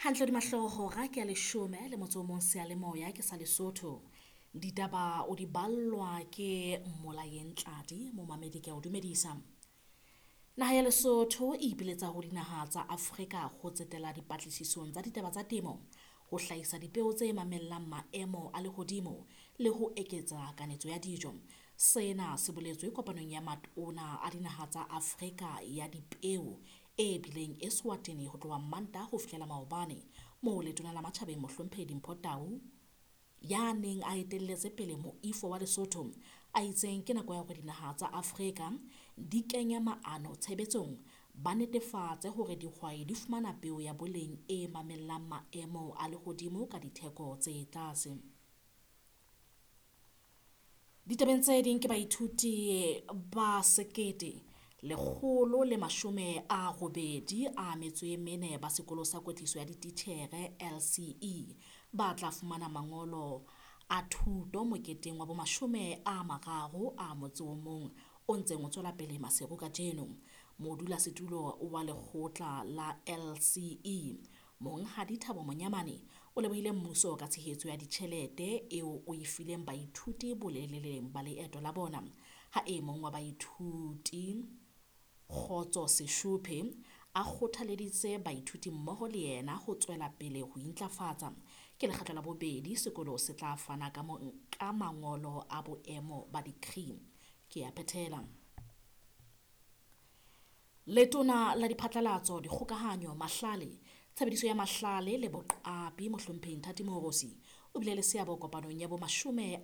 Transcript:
Hantle hodima hlooho hora ke ya 11 seyalemoya ke sa Lesotho. Ditaba o di ballwa ke Mmolayeng Tladi, momamedi ke a o dumedisa. Naha ya Lesotho e ipiletsa ho dinaha tsa Afrika ho tsetela dipatlisisong tsa ditaba tsa temo, ho hlahisa dipeo tse mamellang maemo a lehodimo le ho eketsa kanetso ya dijo. Sena se boletswe kopanong ya matona a dinaha tsa Afrika ya dipeo e bileng Eswatini ho tloha Mantaha ho fihlela maobane, moo letona la matjhabeng Mohlomphehi Dimpho Tau ya neng a etelletse pele moifo wa Lesotho a itseng ke nako ya hore dinaha tsa Afrika di kenye maano tshebetsong, ba netefatse hore dihwai di fumana peo ya boleng e mamellang maemo a lehodimo ka ditheko tse tlase. Ditabeng tse ding ke baithuti ba 1184 ba sekolo sa kwetliso ya dititjhere LCE ba tla fumana mangolo a thuto moketeng wa bo 30 a motse o mong o ntseng o tswela pele Maseru kajeno. Modulasetulo wa lekgotla la LCE Monghadi Thabo Monyamane o lebohile mmuso ka tshehetso ya ditjhelete eo o e fileng baithuti boleleleng ba leeto la bona. Ha e mong wa baithuti Kgotso Seshuphe a kgothaleditse baithuti mmoho le yena ho tswela pele ho intlafatsa. Ke lekgetlo la bobedi sekolo se tla fana ka mangolo a boemo ba degree. Ke a phethela. Letona la diphatlalatso, dikgokahanyo, mahlale, tshebediso ya mahlale le boqapi Mohlomphehi Nthati Moorosi o bile le seabo kopanong ya bo 20